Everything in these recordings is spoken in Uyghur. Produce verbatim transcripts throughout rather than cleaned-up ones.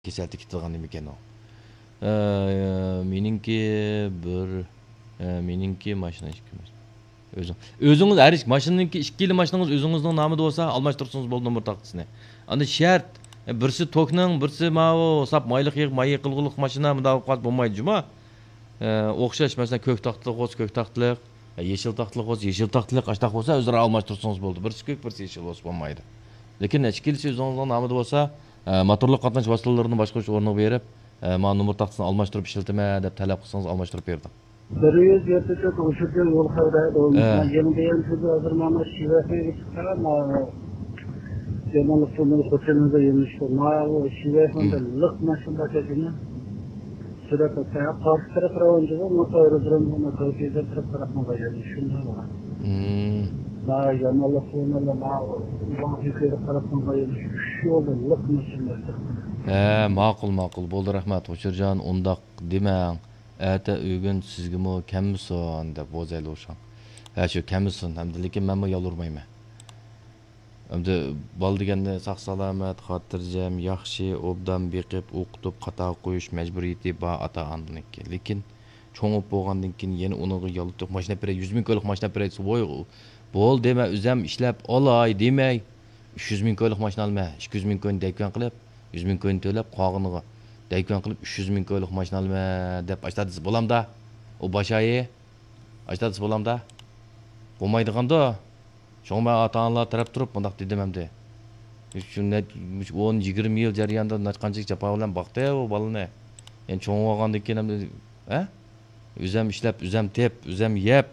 كېسەلتە كېتىدىغان نېمىكەن ئۇ؟ ئە، مېنىڭكى بىر، ئە، مېنىڭكى ماشىنا ئىككى ماشىنا. ئۆزۈڭ، ئۆزىڭىز ھەر ئىككى ماشىنىنىڭكى، ئىككىلا ماشىنىڭىز ئۆزىڭىزنىڭ نامىدا بولسا، ئالماشتۇرسىڭىز بولىدۇ نومۇر تاختىسىنى. ئاندىن شەرت، ئە، بىرسى توكنىڭ، بىرسى ماۋۇ ساپ مايلىق يېغىپ، ماي يېقىلغۇلۇق ماشىنا، مۇنداق بولۇپ قالسا بولمايدۇ جۇما. ئە، ئوخشاش، مەسىلەن، كۆك تاختىلىق بولسا كۆك تاختىلىق، ئە، يېشىل تاختىلىق بولسا يېشىل تاختىلىق، ئاشتاق بولسا ئۆزئارا ئالماشتۇرسىڭىز بولىدۇ. بىرسى كۆك، بىرسى يېشىل بولسا بولمايدۇ. لېكىن ئىككىلىسى ئۆزىڭىزنىڭ نامىدا بولسا، ئە، موتورلۇق قاتناش ۋاسىتىلىرىنى باشقۇرۇش ئورنىغا بېرىپ، ئە، مانا نومۇر تاختىسىنى ئالماشتۇرۇپ ئىشلىتىمەن دەپ تەلەپ قىلسىڭىز ئالماشتۇرۇپ بېرىدۇ. بىر يۈز يەتتە تۆت ئوشۇرتى يول خەۋىرى ھە. يېڭى دېگەن سۆزى ھازىر مانا شىۋەسىنى چىققان، يېڭى سۆزى خوتۇنىدا يېمىشتى. ماۋۇ شىۋەسىنى لىق ماشىنا باشلىدىمۇ؟ سۈرەت ئاتايا قارشى تەرەپ راۋانچىغا، ما تەۋرىدىرىم، ما تەۋرىدىرىم تەرەپ تەرەپنىڭ بايانى شۇنداق بار. مم. ما يامانلىق قىلمىلا، ما ئۇلار يۇقىرى تەرەپنىڭ بايانى شۇ يولدا لىق ماشىنا باشلىدى. ھە، ماقۇل، ماقۇل. بولدى، رەھمەت، غۇچۇرجان، ئۇنداق دېمەڭ. ئەتە ئۆگۈن سىزگىمۇ كەممىسۇن دەپ بوزەيلى ئوشاڭ. ھە، شۇ كەممىسۇن ھەمدە، لېكىن مەنمۇ يالۋۇرمايمەن. ئەمدى بالا دېگەننى ساق-سالامەت، خاتىرجەم، ياخشى، ئوبدان بېقىپ، ئوقۇتۇپ، قاتارغا قويۇش مەجبۇرىيىتى بار ئاتا-ئانىنىڭكى. لېكىن چوڭ بولۇپ بولغاندىن كېيىن يەنە ئۇنىڭغا يالتۇق ماشىنا بېرەي، يۈز مىڭ كويلۇق ماشىنا بېرەي، ۋوي، بولدى، مەن ئۆزۈم ئىشلەپ ئالاي دېمەي، ئۈچ يۈز مىڭ كويلۇق ماشىنا ئالىمەن، ئىككى يۈز مىڭ كوينى دەيكۈەن قىلىپ، يۈز مىڭ كوينى تۆلەپ، قالغىنىغا دەيكۈەن قىلىپ، ئۈچ يۈز مىڭ كويلۇق ماشىنا ئالىمەن دەپ ئاشتا دېسە بولامدا؟ ئۇ باش ئايى ئاشتا دېسە بولامدا؟ بولمايدىغاندۇ؟ شۇڭا مەن ئاتا-ئانىلار تەرەپ تۇرۇپ مۇنداق دېدىم ئەمدى. شۇ نە-، مۇشۇ ئون، يىگىرمە يىل جەريانىدا نەچچە قانچىلىك جاپا بىلەن باقتى ئۇ بالىنى. يەنە چوڭ بولغاندىن كېيىن ئەمدى، ھە؟ ئۆزەم ئىشلەپ، ئۆزەم تېپ، ئۆزەم يەپ.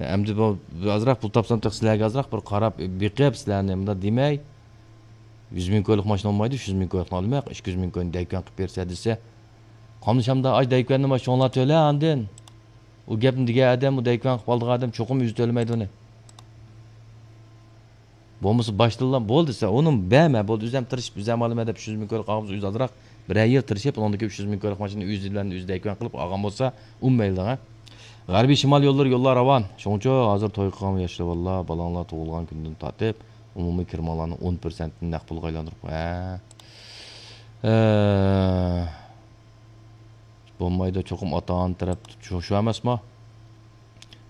ئەمدى بۇ، بۇ ئازراق پۇل تاپسام تېخى سىلەرگە ئازراق بىر قاراپ، بېقىپ، سىلەرنى مۇنداق دېمەي. يۈز مىڭ كويلۇق ماشىنا بولمايدۇ، ئۈچ يۈز مىڭ كويلۇقنى ئالىمەن، ئىككى يۈز مىڭ كوينى دەيكۈەن قىلىپ بېرىسە دېسە، قاملىشامدا، ئاي دەيكۈەننى ما شۇڭلار تۆلە ئاندىن. ئۇ گەپنى دېگەن ئادەم، ئۇ دەيكۈەن قىلىپ ئالىدىغان ئادەم چوقۇم ئۆزى تۆلىمەيدۇ ئۇنى. بولمىسا باشتىنلا بولدى دېسە، ئۇنىڭ بەرمە، بولدى، ئۆزۈم تىرىشىپ، ئۆزۈم ئالىمەن دەپ ئۈچ يۈز مىڭ كويلۇق ئالغان بولسا، ئۆزى ئازراق بىرەر يىل تىرىشىپ، ئۇنىڭدىن كېيىن ئۈچ يۈز مىڭ كويلۇق ماشىنىنى ئۆزى بىلەن ئۆزى دەيكۈەن قىلىپ ئالغان بولسا، ئۇ مەيلى، ھە. غەربىي شىمال يوللىرى يوللار راۋان. شۇڭىچۇ ھازىر توي قىلغان ياشلار، بالىلار، بالاڭلار تۇغۇلغان كۈندىن تارتىپ، ئومۇمىي كىرىمىڭلارنىڭ ئون پىرسەنتىنى نەق پۇلغا ئايلاندۇرۇپ، ھە. ئە، بولمايدۇ، چوقۇم ئاتا-ئانا تەرەپ شۇ، شۇ ئەمەسمۇ؟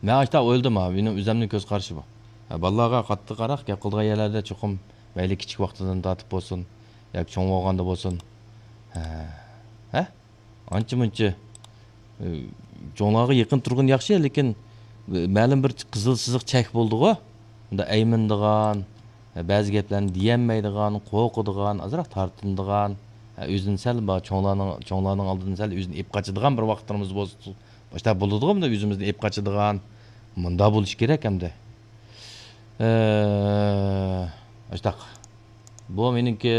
مەن ئاشتا ئويلىدىم ھا، مېنىڭ ئۆزەمنىڭ كۆز قارىشى بۇ. ھە، بالىلارغا قاتتىق قاراق، گەپ قىلىدىغان يەرلەردە چوقۇم مەيلى كىچىك ۋاقتىدىن تارتىپ بولسۇن، ياكى چوڭ بولغاندا بولسۇن. ھە، ھە؟ ئانچە-مۇنچە، ئى، چوڭلارغا يېقىن تۇرغىنى ياخشى، لېكىن، ئى، مەلۇم بىر قىزىل سىزىق چەك بولىدىغۇ. ئۇندا ئەيمىنىدىغان، بەزى گەپلەرنى دېيەلمەيدىغان، قورقىدىغان، ئازراق تارتىنىدىغان، ئۆزىنى سەل بار، چوڭلارنىڭ، چوڭلارنىڭ ئالدىدىن سەل ئۆزىنى ئېپ قاچىدىغان بىر ۋاقىتلىرىمىز بولسا، باشتا بولىدىغۇ، بۇنداق ئۆزىمىزنى ئېپ قاچىدىغان، مۇنداق بولۇشى كېرەك ئەمدى. ئە، ئاشتاق. بۇ مېنىڭكى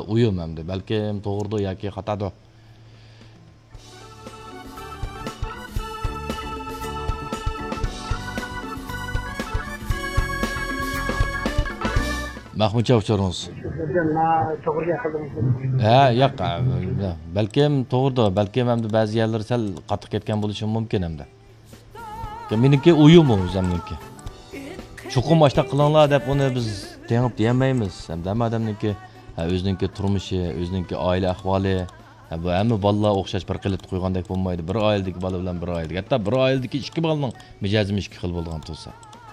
ئويۇم ئەمدى. بەلكىم توغرىدۇ ياكى خاتادۇ. مەخمۇتجان ئۇچۇرىڭىز. ھە، ياق، بەلكىم توغرىدۇ، بەلكىم ئەمدى بەزى يەرلىرى سەل قاتتىق كەتكەن بولۇشى مۇمكىن ئەمدى. مېنىڭكى ئويۇم ئۇ، ئۆزەمنىڭكى. چوقۇم ئاشتاق قىلىڭلار دەپ ئۇنى بىز تېڭىپ دېيەلمەيمىز. ھەمدە ھەممە ئادەمنىڭكى، ھە، ئۆزىنىڭكى تۇرمۇشى، ئۆزىنىڭكى ئائىلە ئەھۋالى، ھە، بۇ ھەممە بالىلار ئوخشاش بىر قېلىپتا قويغاندەك بولمايدۇ. بىر ئائىلىدىكى بالا بىلەن بىر ئائىلىدىكى، ھەتتا بىر ئائىلىدىكى ئىككى بالىنىڭ مىجەزىمۇ ئىككى خىل بولىدىغان تۇرسا.